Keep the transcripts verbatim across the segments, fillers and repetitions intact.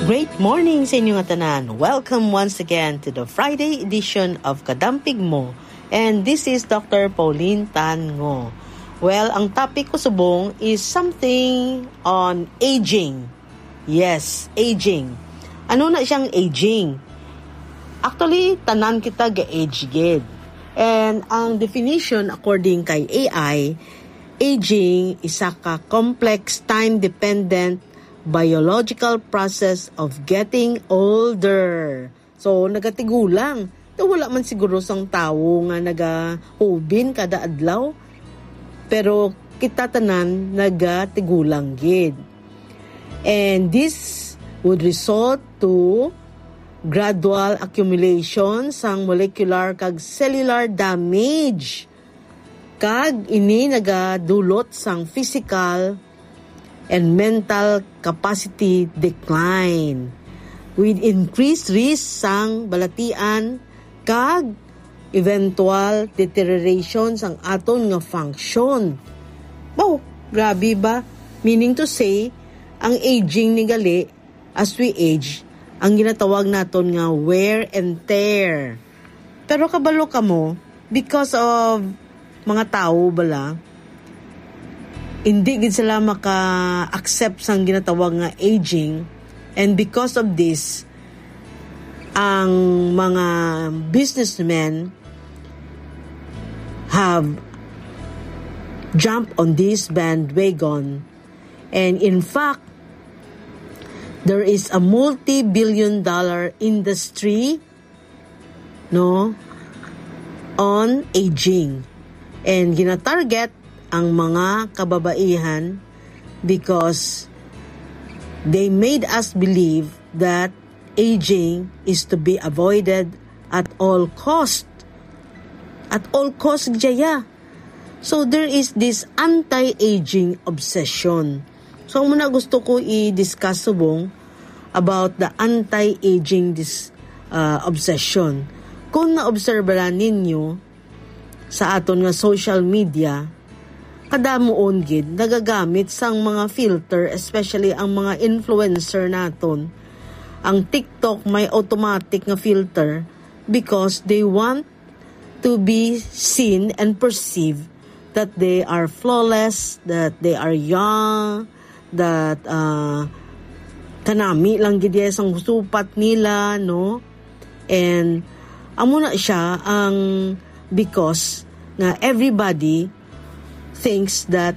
Great morning sa inyo nga tanan. Welcome once again to the Friday edition of Kadampig Mo. And this is Doctor Pauline Tan Ngo. Well, ang topic ko subong is something on aging. Yes, aging. Ano na siyang aging? Actually, tanan kita ga-age gid. And ang definition according kay A I, aging isa ka complex, time-dependent biological process of getting older. So, nagatigulang. Daw wala man siguro sang tawo nga nagahubin kada adlaw. Pero kita tanan nagatigulang gid. And this would result to gradual accumulation sang molecular kag cellular damage. Kag ini nagadulot sang physical and mental capacity decline, with increased risk sang balatian kag eventual deterioration sang aton nga function. Wow, grabe ba? Meaning to say, ang aging ni gali, as we age, ang ginatawag naton nga wear and tear. Pero kabalo kamo, because of mga tawo bala, hindi gid sila maka-accept sang ginatawag nga aging, and because of this, ang mga businessmen have jumped on this bandwagon. And in fact, there is a multi-billion dollar industry, no, on aging. And ginatarget ang mga kababaihan because they made us believe that aging is to be avoided at all cost. At all cost, jaya. So there is this anti-aging obsession. So muna gusto ko i-discuss subong about the anti-aging dis, uh, obsession. Kung naobserbahan ninyo sa aton nga social media, kadamuon gid nagagamit sang mga filter, especially ang mga influencer naton. Ang TikTok may automatic nga filter because they want to be seen and perceived that they are flawless, that they are young, that, uh, kanami lang gid iya sang supat nila, no? And amo na siya ang because nga everybody thinks that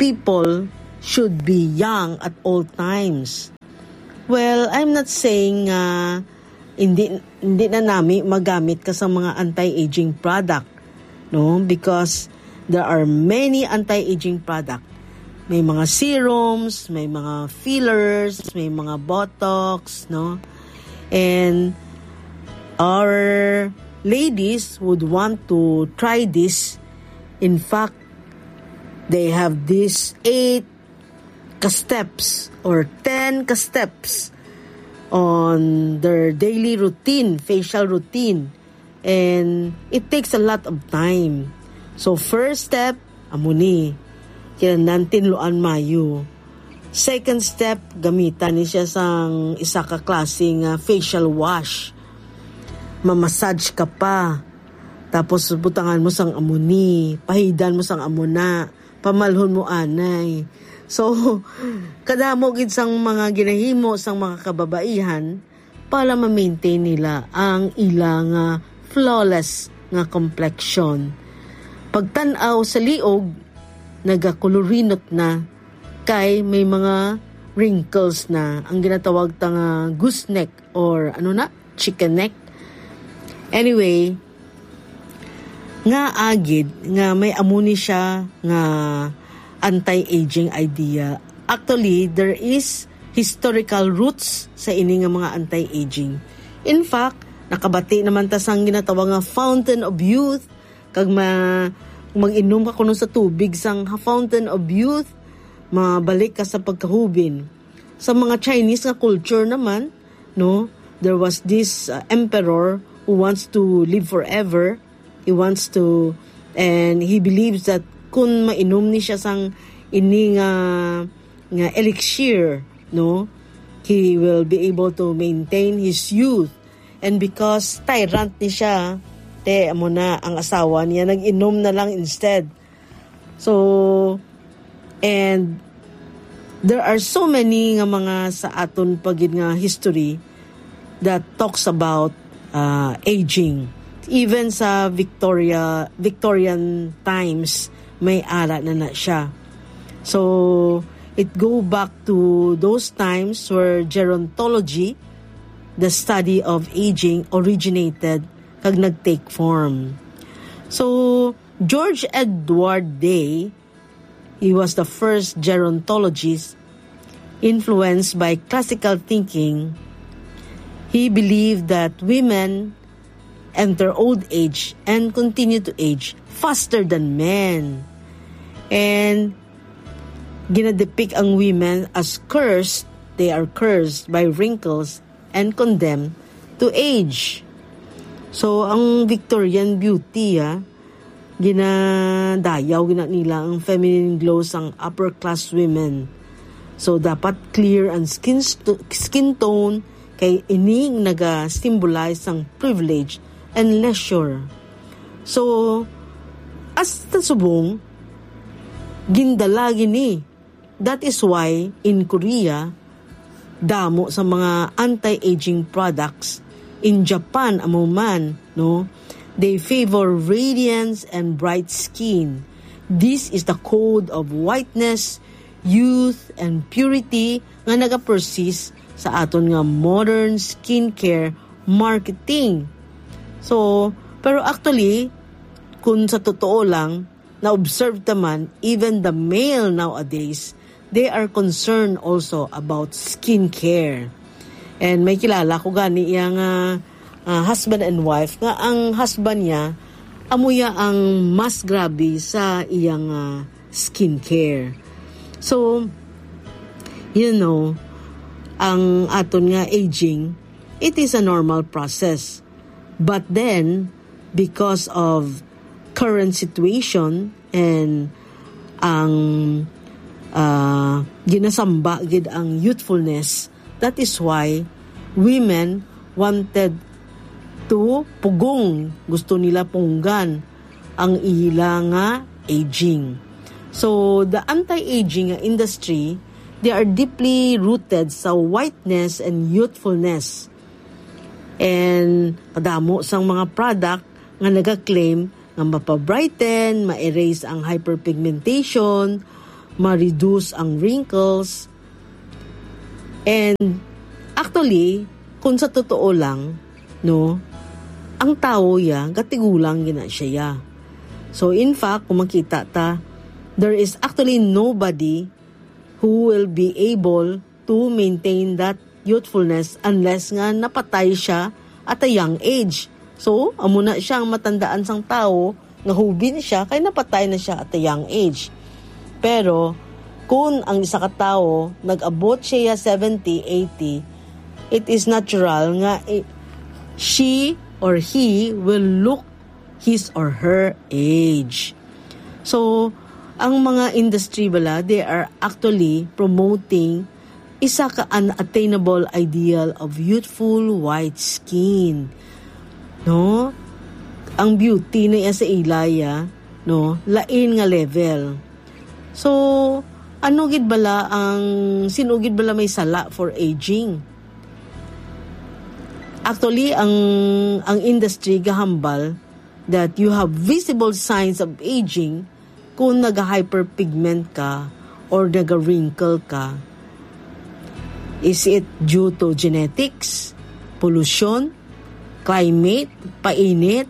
people should be young at all times. Well, I'm not saying nga hindi, hindi na nami magamit ka sa mga anti-aging product, no? Because there are many anti-aging product. May mga serums, may mga fillers, may mga botox, no? And our ladies would want to try this. In fact, they have this eight ka-steps or ten ka-steps on their daily routine, facial routine. And it takes a lot of time. So, first step, amo ni, kinahanglan tinluan mayo. Second step, gamitan ni siya sang isa ka klase nga facial wash. Mamassage ka pa. Tapos butangan mo sang amo ni, pahidan mo sang amo na, pamalhon mo anay. So, kadamo gid sang mga ginahimo sang mga kababaihan para ma-maintain nila ang ila nga flawless nga complexion. Pagtan-aw sa liog, nagakulurinot na kay may mga wrinkles na, ang ginatawag ta nga goose neck or ano na, chicken neck. Anyway, nga agid nga may amo ni siya nga anti-aging idea. Actually, there is historical roots sa ini nga mga anti-aging. In fact, nakabati naman ta sang ginatawag nga fountain of youth, kag ma-, mag-inom ka kuno sa tubig sang ha fountain of youth, mabalik ka sa pagkahubin. Sa mga Chinese nga culture naman, no, there was this, uh, emperor who wants to live forever. He wants to, and he believes that kung mainom ni siya sang ini nga, nga elixir, no, he will be able to maintain his youth. And because tyrant ni siya, te, amo na, ang asawa niya, nag-inom na lang instead. So, and there are so many nga mga sa aton pa gid nga history that talks about, uh, aging. Even sa Victoria, Victorian times, may ara na na siya. So, it go back to those times where gerontology, the study of aging, originated kag nag-take form. So, George Edward Day, he was the first gerontologist influenced by classical thinking. He believed that women enter old age and continue to age faster than men. And ginadepict ang women as cursed. They are cursed by wrinkles and condemned to age. So, ang Victorian beauty, ah, ginadayaw gina nila ang feminine glow sang upper class women. So, dapat clear ang skin st-, skin tone, kay ini naga-symbolize sang privilege and leisure. So, hasta subong, gindala gini. That is why in Korea, damo sa mga anti-aging products. In Japan, amo man, no? They favor radiance and bright skin. This is the code of whiteness, youth, and purity nga nagapersist sa aton nga modern skincare marketing. So, pero actually, kung sa totoo lang, na-observe ta man, even the male nowadays, they are concerned also about skincare. And may kilala ko gani iya nga, ah, husband and wife, nga ang husband niya, amo ya ang mas grabe sa iyang, ah, skincare. So, you know, ang aton nga aging, it is a normal process. But then, because of current situation and ang, ah, ginasamba gid ang youthfulness, that is why women wanted to pugong, gusto nila punggan ang ila nga aging. So, the anti-aging nga industry, they are deeply rooted sa whiteness and youthfulness. And kadamo sang mga product nga nagaklaim nga mapabrighten, ma-erase ang hyperpigmentation, ma-reduce ang wrinkles. And actually, kung sa totoo lang, no, ang tawo ya, gatigulang gina siya ya. So in fact, kung makita ta, there is actually nobody who will be able to maintain that youthfulness unless nga napatay siya at a young age. So, amo na siya ang matandaan sang tawo nga hubin siya kay napatay na siya at a young age. Pero kung ang isa ka tawo nag-abot siya seventy, eighty, it is natural nga i-, she or he will look his or her age. So, ang mga industry bala, they are actually promoting isa ka unattainable ideal of youthful white skin. No? Ang beauty na iya sa ila ya, no? Lain nga level. So, ano gid bala ang, sino gid bala may sala for aging? Actually, ang, ang industry gahambal that you have visible signs of aging kung naga-hyperpigment ka or naga-wrinkle ka. Is it due to genetics, pollution, climate, painit?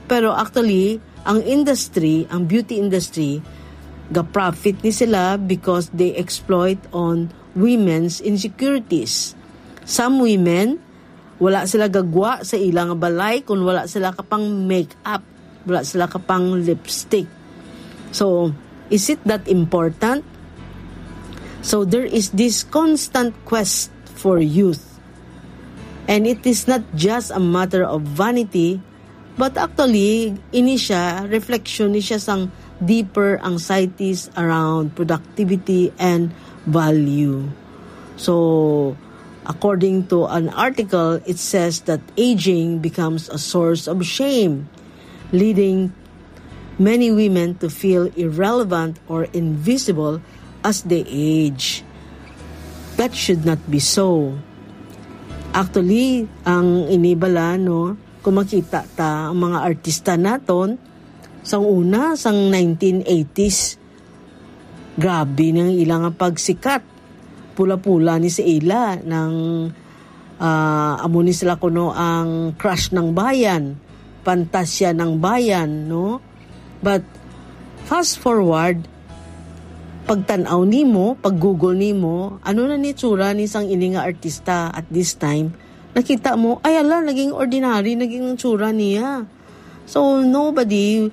Pero actually, ang industry, ang beauty industry, ga-profit ni sila because they exploit on women's insecurities. Some women, wala sila gagwa sa ilang balay kung wala sila kapang make-up, wala sila kapang lipstick. So, is it that important? So, there is this constant quest for youth. And it is not just a matter of vanity, but actually, ini siya, reflection ni siya sang deeper anxieties around productivity and value. So, According to an article, it says that aging becomes a source of shame, leading many women to feel irrelevant or invisible as they age. That should not be so. Actually, ang inibala, no, kung makita ta, ang mga artista naton, sang una, sang nineteen eighties, grabe nang ila nga pagsikat. Pula-pula ni sa ila, nang, ah, amo ni sila kuno ang crush ng bayan, pantasya ng bayan, no? But fast forward, pagtan-aw nimo, pag-google nimo, ano na ni tsura ni sang ini nga artista at this time, nakita mo, ay ala, naging ordinary, naging ang tsura niya. So, nobody,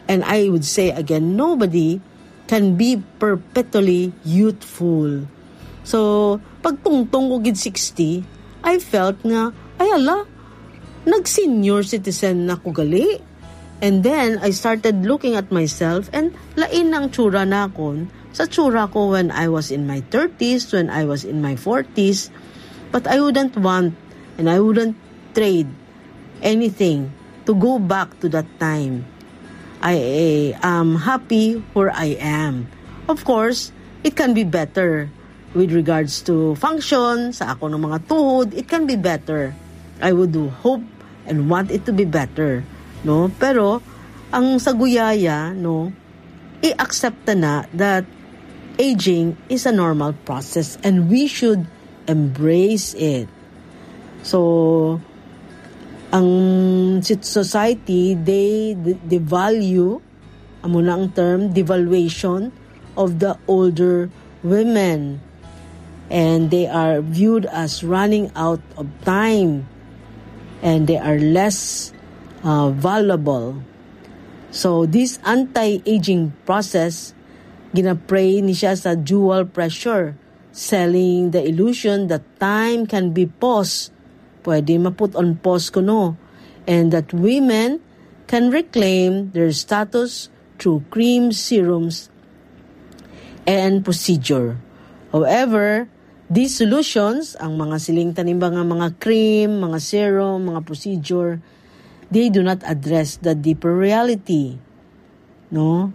and I would say again, nobody can be perpetually youthful. So, pagtungtong ko gid sixty, I felt nga, ay ala, nag-senior citizen na ko gali. And then, I started looking at myself and lain ang tsura nakon sa tsura ko when I was in my thirties, when I was in my forties. But I wouldn't want and I wouldn't trade anything to go back to that time. I am happy where I am. Of course, it can be better with regards to function, sa ako ng mga tuhod, it can be better. I would do hope and want it to be better, no? Pero ang sa guyaya, no, i-accept na na that aging is a normal process and we should embrace it. So, ang sit-, society, they d-, devalue, amo na ang term, devaluation of the older women. And they are viewed as running out of time. And they are less, uh, valuable. So, this anti-aging process, ginaprey ni siya sa dual pressure, selling the illusion that time can be paused, pwede ma-put on pause kuno, and that women can reclaim their status through cream, serums, and procedure. However, these solutions, ang mga siling tanimba nga mga cream, mga serum, mga procedure, they do not address the deeper reality, no?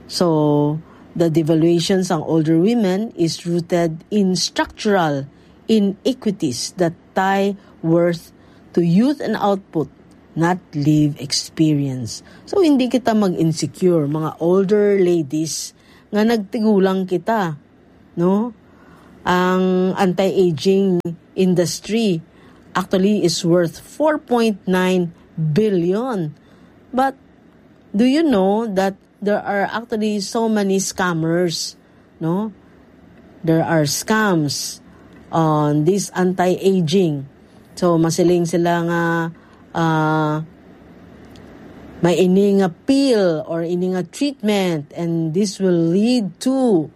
So, the devaluation sang older women is rooted in structural inequities that tie worth to youth and output, not live experience. So, hindi kita mag-insecure, mga older ladies, nga nagtigulang kita, no? Ang anti-aging industry actually is worth four point nine billion. But do you know that there are actually so many scammers, no? There are scams on this anti-aging. So, masiling sila nga, ah, may ini nga pill or ini nga treatment, and this will lead to,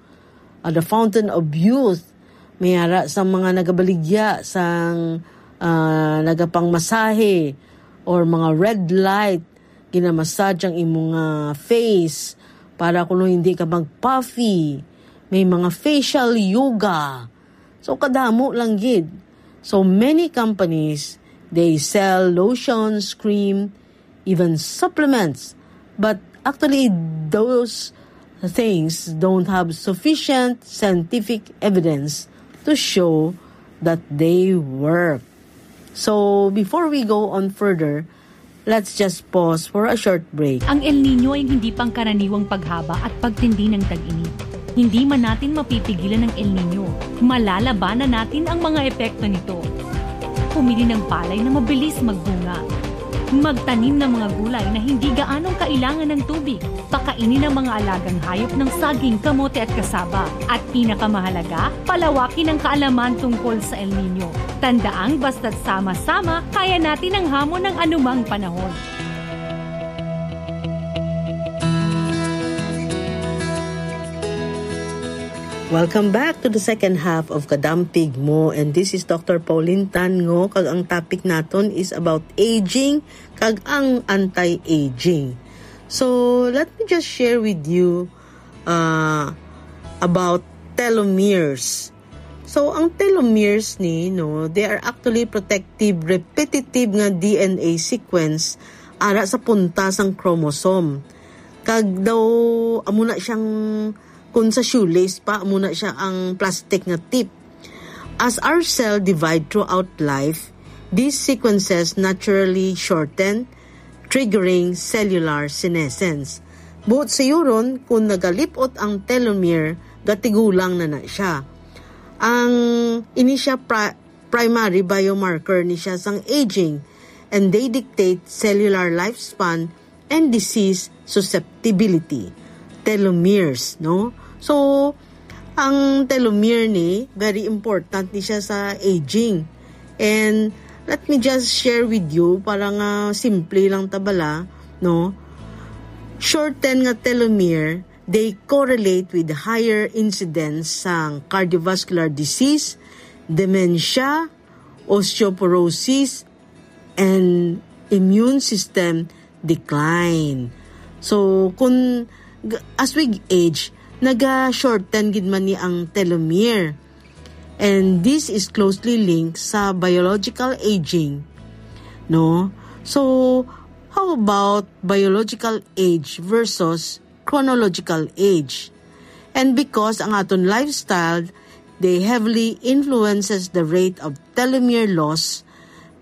ah, the fountain of youth. May ara sa mga nagabaligya sang, ah, nagapangmasahe or mga red light, ginamassage ang imong, ah, face para kuno hindi ka mag-puffy. May mga facial yoga. So, kadamo lang gid. So, many companies, they sell lotions, cream, even supplements. But actually, those things don't have sufficient scientific evidence to show that they work. So, before we go on further, let's just pause for a short break. Ang El Niño ay hindi pangkaraniwang paghaba at pagtindi ng tag-init. Hindi man natin mapipigilan ang El Niño, malalabanan natin ang mga epekto nito. Pumili ng palay na mabilis magbunga. Magtanim ng mga gulay na hindi gaanong kailangan ng tubig. Pakainin ang mga alagang hayop ng saging, kamote at kasaba. At pinakamahalaga, palawakin ang kaalaman tungkol sa El Niño. Tandaang basta't sama-sama, kaya natin ang hamon ng anumang panahon. Welcome back to the second half of Kadampig Mo, and this is Doctor Pauline Tan Ngo, kag ang topic naton is about aging kag ang anti-aging. So, let me just share with you, uh, about telomeres. So, ang telomeres ni, no, they are actually protective, repetitive nga D N A sequence ara sa punta sang chromosome. Kag daw, amo na siyang, kung sa shoelace pa, amo na siya ang plastic nga tip. As our cell divide throughout life, these sequences naturally shorten, triggering cellular senescence. Buot sayuron, kung nagalipot ang telomere, gatigulang na na siya. Ang ini siya pri-, primary biomarker ni siya sang aging, and they dictate cellular lifespan and disease susceptibility. Telomeres, no? So, ang telomere ni, very important ni siya sa aging. And let me just share with you, para nga simple lang ta bala, no? Shorten nga telomere, they correlate with higher incidence sang cardiovascular disease, dementia, osteoporosis, and immune system decline. So, kung g-, as we age, naga-shorten gid man ni ang telomere. And this is closely linked sa biological aging, no? So, how about biological age versus chronological age? And because ang aton lifestyle, they heavily influences the rate of telomere loss,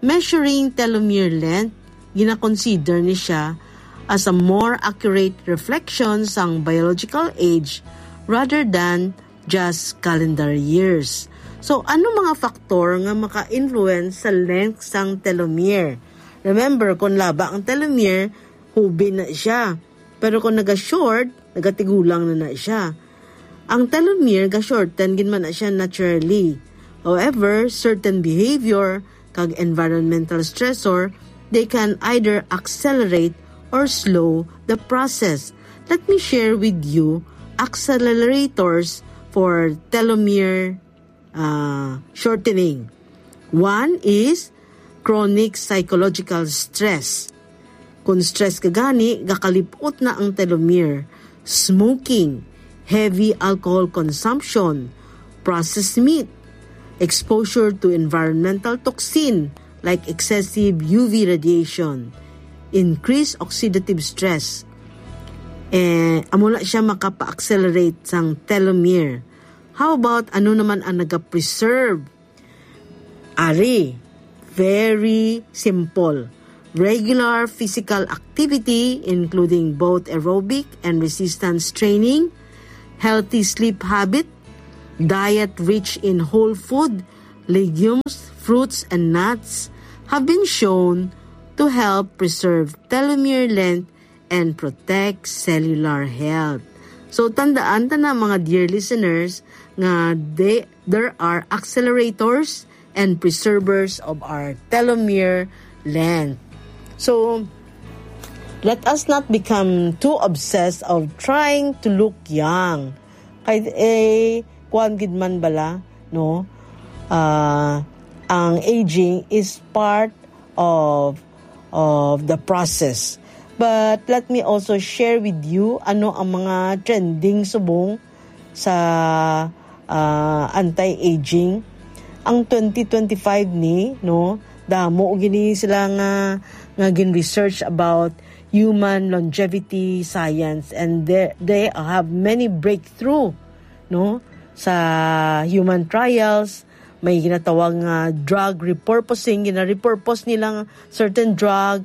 measuring telomere length, ginakonsider ni siya as a more accurate reflection sang biological age rather than just calendar years. So, ano mga faktor nga maka-influence sa length sang telomere? Remember, kung laba ang telomere, hubi na siya. Pero kung naga-short, nagatigulang na na siya. Ang telomere, ga-shorten gid man na siya naturally. However, certain behavior kag environmental stressor, they can either accelerate or slow the process. Let me share with you accelerators for telomere, uh, shortening. One is chronic psychological stress. Kung stress ka gani, gakalipot na ang telomere. Smoking, heavy alcohol consumption, processed meat, exposure to environmental toxin like excessive U V radiation, increased oxidative stress. Eh, amo na siya makapa-accelerate sang telomere. How about ano naman ang nagapreserve? Ari, very simple. Regular physical activity, including both aerobic and resistance training, healthy sleep habit, diet rich in whole food, legumes, fruits, and nuts have been shown to help preserve telomere length and protect cellular health. So, tandaan ta na, mga dear listeners, nga they, there are accelerators and preservers of our telomere length. So, let us not become too obsessed of trying to look young. Kay, eh, kuwan gid man bala, no? Ah, ang aging is part of, of the process. But let me also share with you ano ang mga trending subong sa, ah, anti-aging. Ang twenty twenty-five ni, no, damo gini sila nga, nga gin-research about human longevity science, and they, they have many breakthrough, no, sa human trials. May ginatawag nga drug repurposing, gina-repurpose nilang certain drug,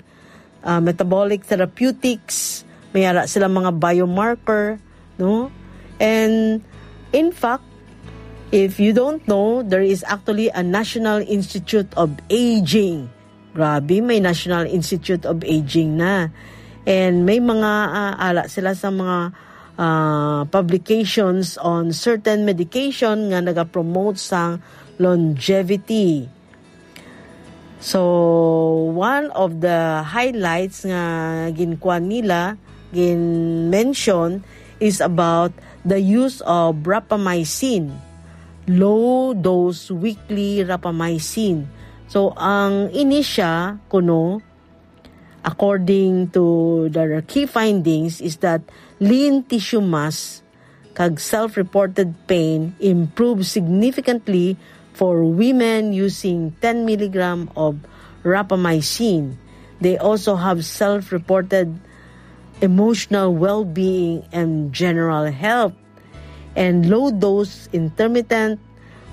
ah, metabolic therapeutics, may ara sila mga biomarker, no? And in fact, if you don't know, there is actually a National Institute of Aging. Grabe, may National Institute of Aging na. And may mga, ah, ara sila sa mga, ah, publications on certain medication nga nagapromote sang longevity. So, one of the highlights nga ginkuan nila, gin-mention, is about the use of rapamycin, low dose weekly rapamycin. So, ang ini siya kuno, according to their key findings, is that lean tissue mass kag self-reported pain improved significantly for women using ten milligram of rapamycin. They also have self-reported emotional well-being and general health. And low-dose intermittent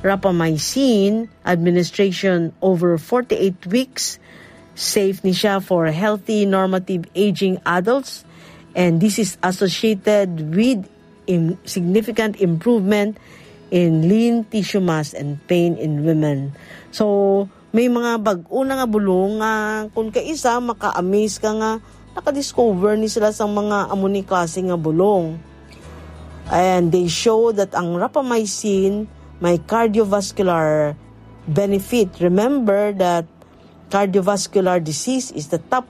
rapamycin administration over forty-eight weeks safe ni siya for healthy normative aging adults, and this is associated with im- significant improvement in lean tissue mass and pain in women. So, may mga bag-o na nga bulong nga kung kaisa maka-amaze ka nga nakadiscover ni sila sang mga amo ni klase nga bulong. And they show that ang rapamycin may cardiovascular benefit. Remember that cardiovascular disease is the top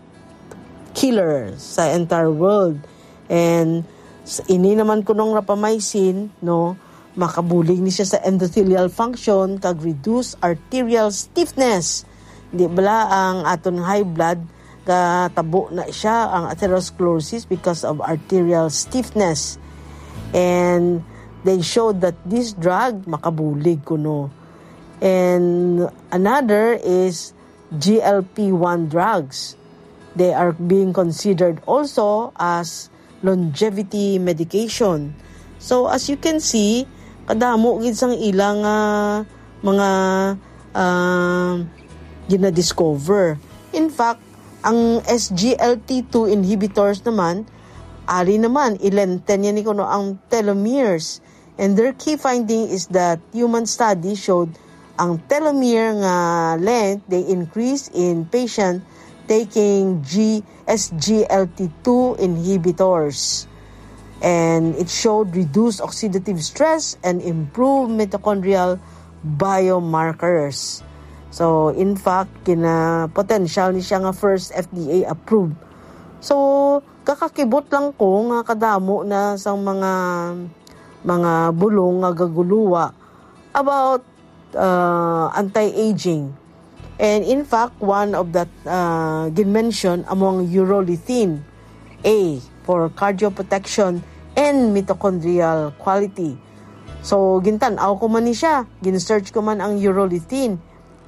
killer sa entire world. And s- ini naman kunong rapamycin, no, makabulig ni siya sa endothelial function kag reduce arterial stiffness. Di bala ang aton high blood, katabo na siya ang atherosclerosis because of arterial stiffness. And they showed that this drug makabulig kuno. And another is G L P one drugs. They are being considered also as longevity medication. So, as you can see, kadamo gid sang ilang ah, mga ah, ginadiscover. In fact, ang S G L T two inhibitors naman, ari naman, i-lengthen niya ni kuno ang telomeres. And their key finding is that human study showed ang telomere nga length they increase in patient taking G S G L T two inhibitors. And it showed reduced oxidative stress and improved mitochondrial biomarkers. So, in fact, kina potential ni siya nga first F D A approved. So, kakakibot lang ko nga kadamo na sang mga mga bulong nga gaguluwa about uh, anti-aging. And in fact, one of that uh, ginmention among urolithin A for cardioprotection and mitochondrial quality. So, gintan-aw ko man ni siya, gin-search ko man ang urolithin.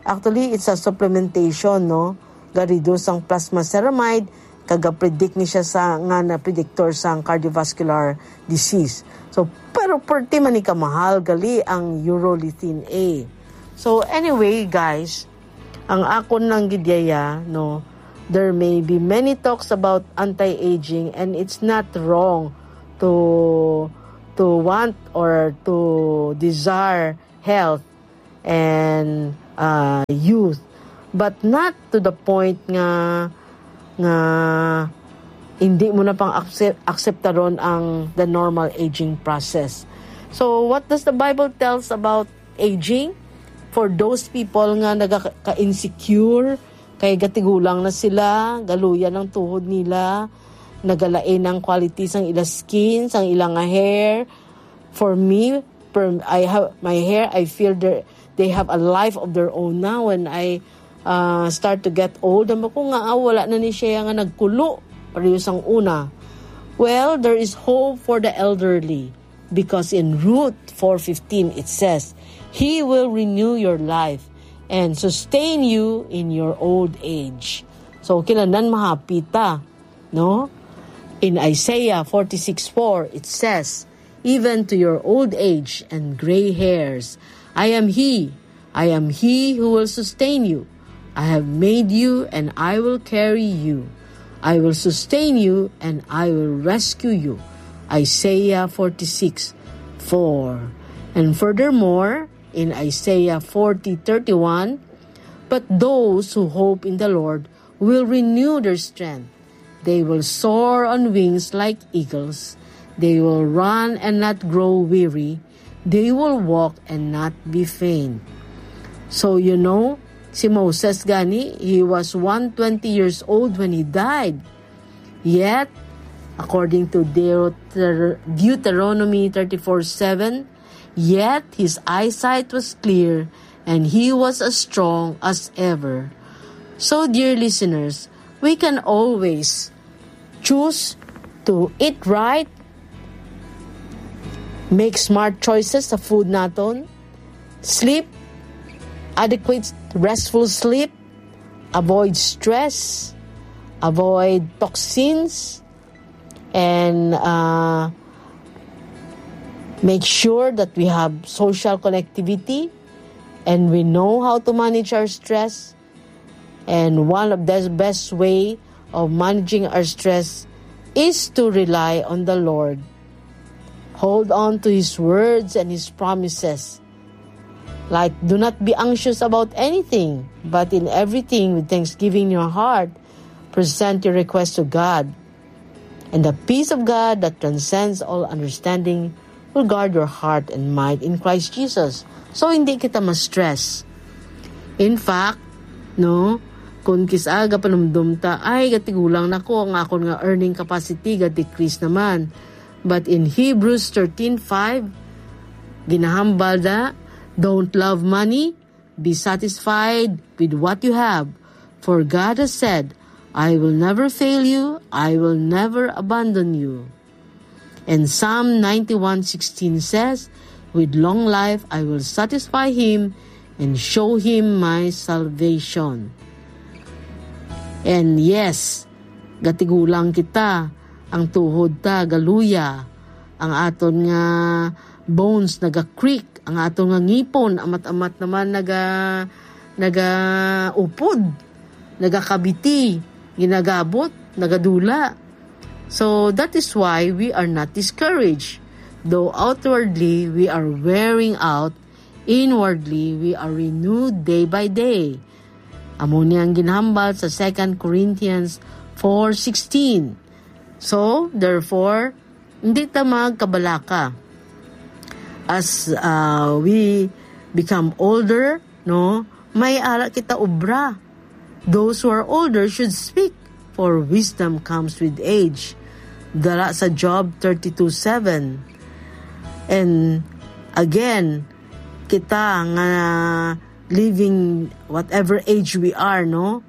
Actually, it's a supplementation, no? Ga-reduce ang plasma ceramide, kag ga-predict ni siya sa nga na predictor sang cardiovascular disease. So, pero perti man ni kamahal gali ang urolithin A. So, anyway, guys, ang akon lang gid yaya, no, there may be many talks about anti-aging, and it's not wrong to to want or to desire health and uh, youth, but not to the point nga nga hindi mo na pang accept, akseptaron ang the normal aging process. So, what does the Bible tells about aging? For those people nga nagaka-insecure, kay gatigulang na sila, galuyan ang tuhod nila, nagalain ang quality sang ila skin, sang ila nga hair. For me, per, I have my hair, I feel they they have a life of their own now. When I uh, start to get old, amo ko nga ah, wala na ni siya nga nagkulo pareho sang una. Well, there is hope for the elderly because in Ruth four fifteen it says, "He will renew your life and sustain you in your old age." So, kinahanglan mahappy ta, no? In Isaiah forty-six four, it says, "Even to your old age and gray hairs, I am He. I am He who will sustain you. I have made you, and I will carry you. I will sustain you, and I will rescue you." Isaiah forty-six four. And furthermore, in Isaiah forty thirty-one, "But those who hope in the Lord will renew their strength. They will soar on wings like eagles. They will run and not grow weary. They will walk and not be faint." So, you know, si Moses gani, he was one twenty years old when he died. Yet, according to Deuter- Deuteronomy thirty-four seven, "Yet his eyesight was clear, and he was as strong as ever." So, dear listeners, we can always choose to eat right, Make smart choices sa food naton. Sleep, adequate restful sleep, avoid stress, avoid toxins, and, uh, make sure that we have social connectivity and we know how to manage our stress. And one of the best way of managing our stress is to rely on the Lord. Hold on to His words and His promises. Like, do not be anxious about anything, but in everything with thanksgiving in your heart, present your request to God. And the peace of God that transcends all understanding will guard your heart and mind in Christ Jesus. So, hindi kita ma-stress. In fact, no, kung kis-a gapanumdom ta, "Ay, gatigulang na ko, ang akon nga earning capacity ga-decrease naman." But in Hebrews thirteen five, ginahambal na, "Don't love money, be satisfied with what you have. For God has said, 'I will never fail you, I will never abandon you.'" And Psalm ninety-one sixteen says, "With long life I will satisfy him and show him my salvation." And yes, gatigulang kita, ang tuhod ta galuya, ang aton nga bones naga-creak, ang aton nga ngipon amat-amat naman naga-, naga-upod, nagakabiti, ginagabot, nagadula. So that is why we are not discouraged. Though outwardly we are wearing out, inwardly we are renewed day by day. Amo ni ang ginhambal sa Second Corinthians four sixteen. So, therefore, hindi ta magkabalaka. As, uh, we become older, no, may ara kita obra. Those who are older should speak, for wisdom comes with age. Dala sa Job thirty-two seven. And again, kita nga living whatever age we are, no?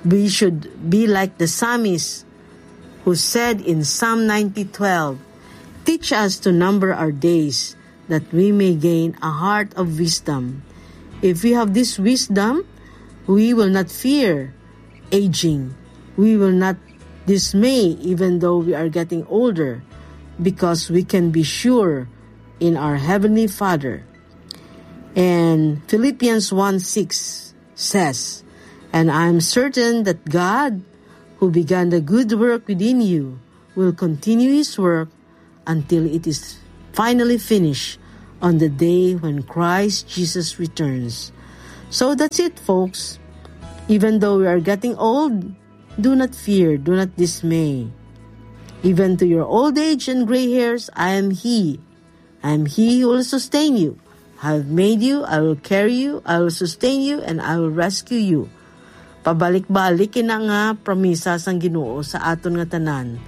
We should be like the psalmist who said in Psalm ninety twelve, "Teach us to number our days, that we may gain a heart of wisdom." If we have this wisdom, we will not fear aging. We will not dismay even though we are getting older, because we can be sure in our Heavenly Father. And Philippians one six says, "And I am certain that God, who began the good work within you, will continue his work until it is finally finished on the day when Christ Jesus returns." So that's it, folks. Even though we are getting old, do not fear, do not dismay. Even to your old age and gray hairs, I am He. I am He who will sustain you. I have made you, I will carry you, I will sustain you, and I will rescue you. Pabalik-balik ina nga promisa sang Ginoo sa aton nga tanan.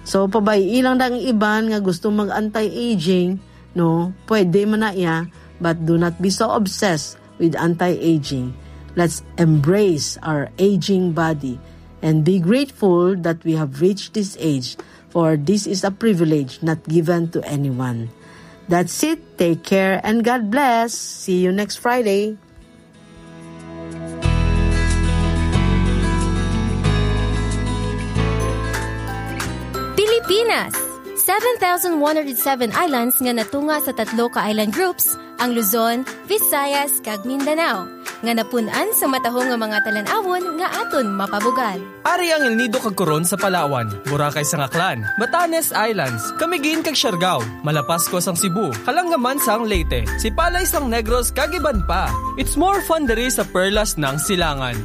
So, pabay-i lang ang iban nga gusto mag-anti-aging, no? Pwede man na iya, but do not be so obsessed with anti-aging. Let's embrace our aging body and be grateful that we have reached this age, for this is a privilege not given to anyone. That's it. Take care and God bless. See you next Friday. Pilipinas. Seven thousand one hundred seven islands nga natunga sa tatlo ka island groups, ang Luzon, Visayas, kag Mindanao, nga napun-an sa matahom nga mga talan-awon nga aton mapabugal. Ari ang El Nido kag Coron sa Palawan, Boracay sang Aklan, Batanes Islands, Camiguin kag Siargao, Malapascua sang Cebu, Kalangaman sang Leyte, Sipalay sang Negros kag iban pa. It's more fun diri sa Perlas ng Silangan.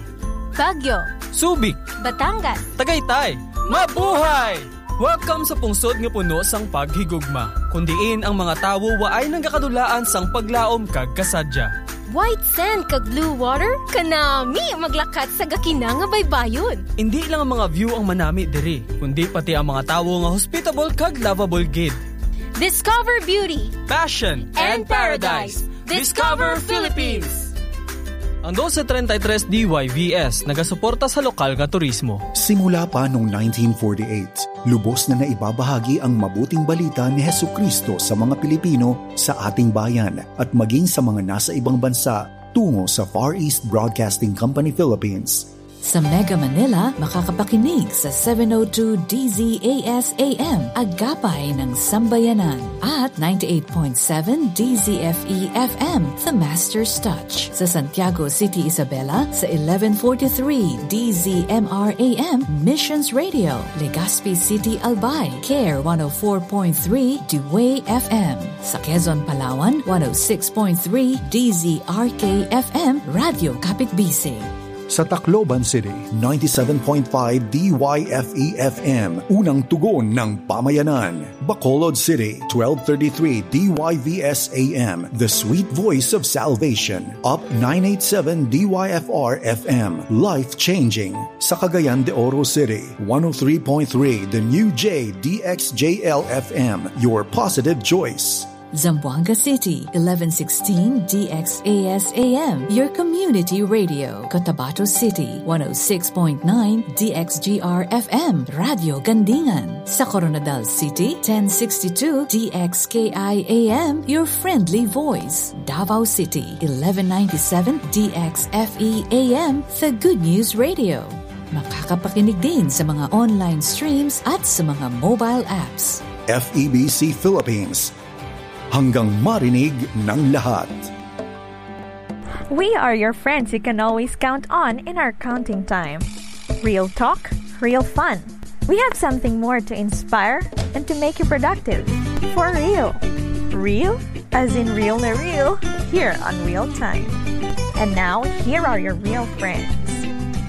Baguio, Subic, Batangas, Tagaytay. Mabuhay! Welcome sa pungsod nga puno sang paghigugma, kun diin ang mga tawo waay nagakadulaan sang paglaom kag kasadya. White sand kag blue water, kanami maglakat sa gakina nga baybayon. Indi lang ang mga view ang manami diri, kundi pati ang mga tawo nga hospitable kag lovable gid. Discover beauty, passion, and paradise. Discover Philippines. Ang dose treinta y tres D Y V S nagasuporta sa lokal nga turismo. Simula pa noong nineteen forty-eight, lubos na naibabahagi ang mabuting balita ni Jesucristo sa mga Pilipino sa ating bayan at maging sa mga nasa ibang bansa tungo sa Far East Broadcasting Company Philippines. Sa Mega Manila, makakapakinig sa seven oh two D Z A S A M, Agapay ng Sambayanan, at ninety-eight point seven D Z F E F M, The Master's Touch. Sa Santiago City, Isabela, sa eleven forty-three D Z M R A M, Missions Radio, Legazpi City, Albay, Care one oh four point three, Dewey F M. Sa Quezon, Palawan, one oh six point three D Z R K F M, Radyo Kapitbisig. Sa Tacloban City, ninety-seven point five D Y F E F M, Unang Tugon ng Pamayanan. Bacolod City, twelve thirty-three D Y V S A M, The Sweet Voice of Salvation. Up nine eight seven D Y F R F M, Life Changing. Sa Cagayan de Oro City, one oh three point three The New J D X J L F M, Your Positive Choice. Zamboanga City, eleven sixteen D X A S A M, your community radio. Cotabato City, one oh six point nine D X G R F M, Radyo Gandingan. Sa Koronadal City, ten sixty-two D X K I A M, your friendly voice. Davao City, eleven ninety-seven D X F E A M, The Good News Radio. Makakapakinig din sa mga online streams at sa mga mobile apps. F E B C Philippines. Hanggang marinig ng lahat. We are your friends you can always count on in our counting time. Real talk, real fun. We have something more to inspire and to make you productive. For real. Real? As in real na real? Here on Real Time. And now, here are your real friends.